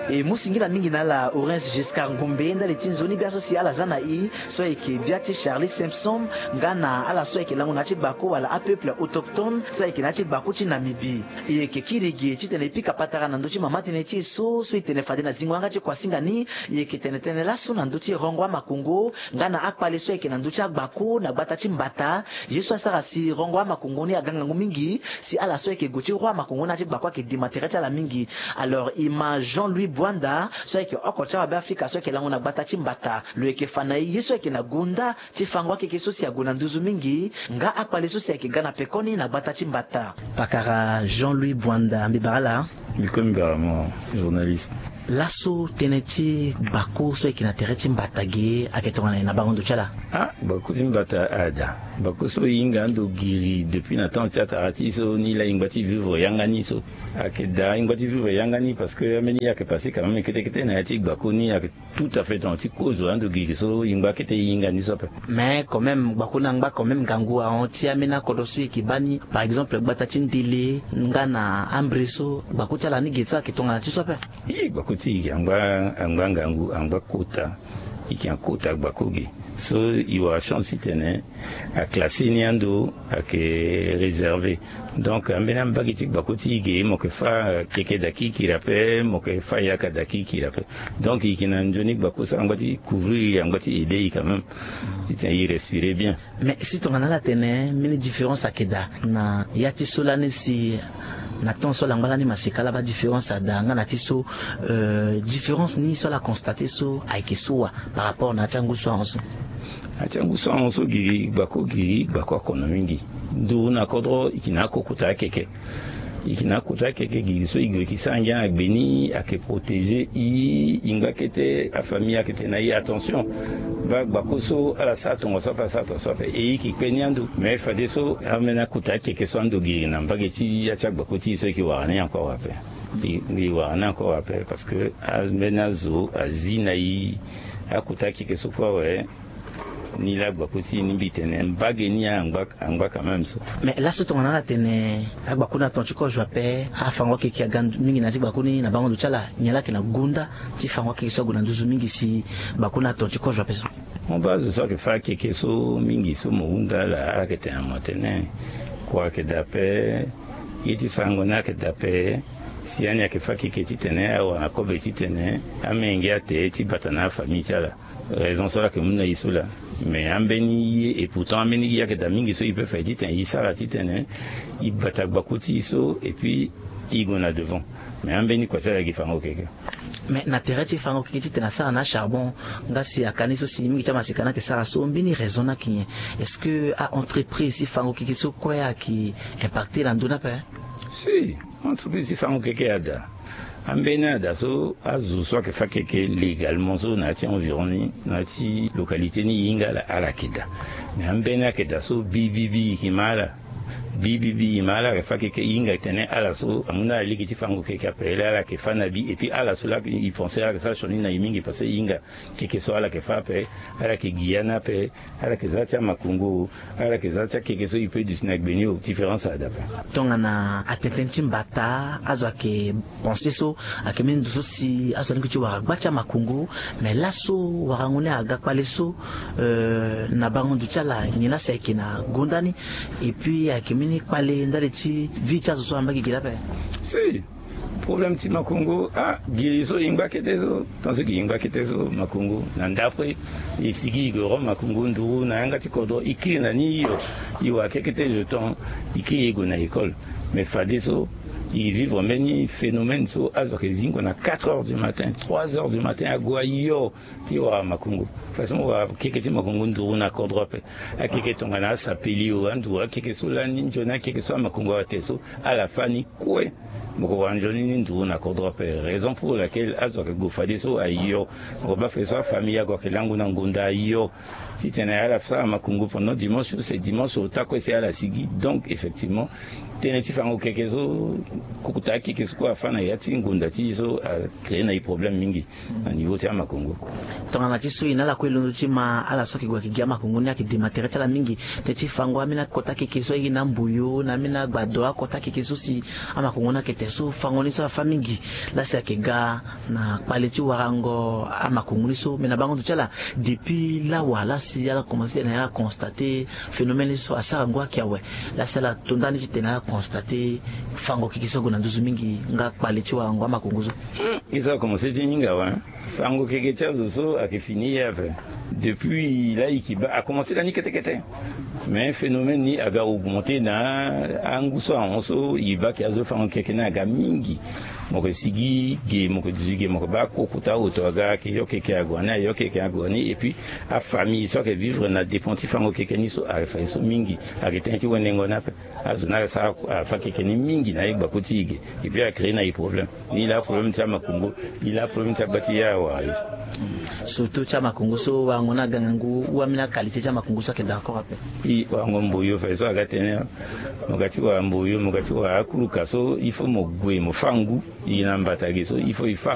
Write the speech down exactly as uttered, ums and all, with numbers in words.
E mu singila mingi na ala Orange Giscard Ngombe ndali ti nzoni bia so si ala za na i, so ayeke bia ti Charlie Simpson, nga na ala so ayeke lango na ya ti gbako wala apeuple autochtone so ayeke na ya ti gbako ti Namibie. E yeke kiri ge titene e pika patara na ndö ti mama tënë ti e so, so e tene fade na zingo yanga ti kuasinga ni, e yeke tene tënë laso na ndö ti rongo amakongo nga na akpale so ayeke na ndö ti agbako na gbata ti mbata. Ye so asara si rongo amakongo ni aga ngangu mingi, si ala so ayeke gue ti roi amakongo ni na ya ti gbako ayeke dima tere ti ala mingi. Alors e ma Jean Louis Bwanda so ayeke oko ti awabe Afrika so ayeke lango na gbata ti mbata, lo yeke fa na e ye so ayeke na gonda ti fango akeke so si ague na nduzu mingi, nga akpale so si ayeke ga na pekoni na gbata ti mbata. Pakara Jean Louis Bwanda, mbi bara ala. Mbi komi bara mo, journaliste. Laso tënë ti gbako so ayeke na tere ti mbata ge ayeke tongana nyen na bango ndo ti ala? Ah, gbako ti mbata ada. Gbako so e hinga ando giri depuis na temps ti atara ti e so, ni laa e ngba ti vivre yanga ni so. Ayeke daa e ngba ti vivre yanga ni parce que ambeni ye ayeke passé quand même kete kete na ya ti gbako ni, ayeke tout à fait tongana ti kozo ando giri so e ngba kete e hinga ni so ape. Mais quand même gbako ni angba quand même ngangu ahon ti ambeni akodro so e yeke baa ni, par exemple gbata ti ndele nga na ambre so, gbako ti ala ni ge so ayeke tongana ti so ape? Ye gbako ti e ge angba, angba ngangu, angba kota. E yeke na kota gbako ge so e wara chance titene aclassé ni ando ayeke réservé. Donc ambeni ambage ti gbako ti e ge mo yeke fâ keke da kirikiri ape, mo yeke fâ yaka da kirikiri ape. Donc e yeke na nzoni gbako so angba ti couvrir e, angba ti aider e quand même titene e respirer bien. Mais si tongana ala tene mbeni différence ayeke daa na ya ti so lani si na temps so ala ngba lani maseka ala baa différence ada nga na ti so, euh, différence ni so ala constaté so ayeke so wa par rapport na ya ti angu so ahon so? Na ya ti angu so ahon so giri gbako, giri gbako akono mingi. Nduru na kodro e yeke na akokota akeke. E yeke na akota akeke giri so e gue e yeke sara ngia na gbe ni ayeke protéger e, e ngba kete afamille ayeke tene na e attention. Baa gbako so ala sara tongaso ape, ala sara tongaso ape, e e yeke kpe ni ando. Mais fadeso ambeni akota akeke so ando giri na mbage ti ya ti agbako ti e so e yeke wara ni encore ape. E, e wara ni encore ape parce que ambeni azo azi na e. Akota akeke so kue awe. Ni laa gbako ti e ni mbi tene mbage ni angba, angba quand même so. Mais laso tongana ala tene agbako ni aton ti kozo ape, afango akeke aga mingi na ya ti gbako ni na bango ndo ti ala, nyen laa ayeke na gonda ti fango akeke so ague na nduzu mingi si gbako ni aton ti kozo ape so? Mo baa azo so ayeke fâ akeke so mingi so mo hunda ala, ala yeke tene na mo atene kua ayeke daa ape. Ye ti sarango ni ayeke daa ape. Si ani ayeke fâ akeke titene awara na kobe titene amenge ate ti bata na afamille ti ala. Raison so ala yeke mu na e so laa. Mais ambeni ye, et pourtant ambeni ye ayeke daa mingi so e peut fa e titene e sara titene e bata gbako ti e so et puis e gue na devant. Mais ambeni kua ti ala gi fango keke. Mais na tere ti fango keke titene asara na acharbon, nga si aka ni so si mingi ti amaseka ni ayeke sara so, mbeni raison ni ayeke nyen? Est-ce que a-entreprise ti fango keke so kue ayeke impacté na ndö ni ape? Si, entreprise ti fango keke ada. Ambeni ada so azo so ayeke fâ keke légalement so na ya ti environ ni, na ya ti localité ni e hinga ala, ala yeke daa. Mais ambeni ayeke daa so bibibi e yeke ma ala. Bibibi e ma ala ayeke fâ keke e hinga tene ala so amu na ala lege ti fango keke ape, laa ala yeke fâ na bi. Et puis ala so laa e pensé ala yeke sara sioni na e mingi parce que e hinga keke so ala yeke fâ ape, ala yeke gi ya ni ape. Ala yeke za ti amakongo, ala yeke za ti akeke so e peut duti na gbe ni o, différence ada ape. Tongana atene tënë ti mbata, azo ayeke pensé so ayeke mbeni ndo so si azo alingbi ti wara gba ti amakongo. Mais laso warango ni aga kpale so, euh, na bango ndo ti ala nyen laa si ayeke na gonda ni? Et puis ayeke mbeni kpale ndali ti vie ti azo so angba gigi laa ape? Si. Problème ti makongo, ah, giri so e ngba kete so, tant so giri e ngba kete so, makongo na ndapre. E sigi e gue ro makongo nduru na yanga ti kodro, e kiri na ni hio. E wara kekete jeton, e kiri e gue na école. Mais fadeso e vivre mbeni phénomène so azo ayeke zingo na quatre heures du matin, trois heures du matin ague ahio ti wara makongo. Façon mo wara keke ti makongo nduru na kodro ape. Akeke tongana asapeli o, anduru akeke so lani, nzoni akeke so amakongo awe ate so, ala fâ ni kue. Mo ko wara nzoni ni nduru na kodro ape. Raison pour laquelle azo ayeke gue fadeso ahio. Mo ko baa fadeso afamille ague ayeke lango na ngonda ahio. Titene ala sara makongo pendant dimanche, c'est dimanche ota kue si ala sigi. Donc effectivement tënë ti fango keke so, kota akeke so kue afâ na ya ti ngonda ti e so, acréé na e problème mingi na niveau ti amakongo. Tongana ti so e na ala Londo ti ma ala so ayeke gue ayeke gi amakongo ni ayeke dema tere ti ala mingi. Teti fango ambeni akota keke so aye na mboyo na ambeni agbado akota keke so si amakongo ni ayeke te so fango ni so afa mingi. Lasi ayeke ga na kpale ti warango amakongo ni so me na bango ndo ti ala. Depuis lawa lasi ala komanse ti tene ala constate phénomène ni so asara ngu ayeke awe. Lasi ala to ndani ti tene ala constate fango keke so ague na nduzu mingi nga kpale ti warango amakongo so. Ye so akomanse ti hinga awe. Fango keke ti azo so ayeke fini ye ape. Depuis la e yeke baa akomanse lani kete kete. Mais phénomène ni aga augmenter na angu so ahon so e baa ke azo fango keke ni aga mingi. Mo yeke sigi ge mo yeke duti ge mo yeke baa koko ti aoto aga ayeke yo keke ague ni aye yo keke ague ni et puis afamille so ayeke vivre na dépend ti fango keke ni so ayeke fa ye so mingi. Ayeke tënë ti wendengo ni ape. Azo ni asara afa keke ni mingi na ye gbako ti e ge. Et puis a créer na e problème. Ni laa problème ti amakongo. Ni laa problème ti agba ti ye awara ye so. Surtout ti amakongo so warango ni aga ngangu ou ambeni akalité ti amakongo so ayeke d'accord ape. I warango mboyo fa ye so aga tënë. Mo ga ti wara mboyo mo ga ti wara akuruka so il faut mo gue mo fâ ngu. I na mbata ge so il faut e fâ.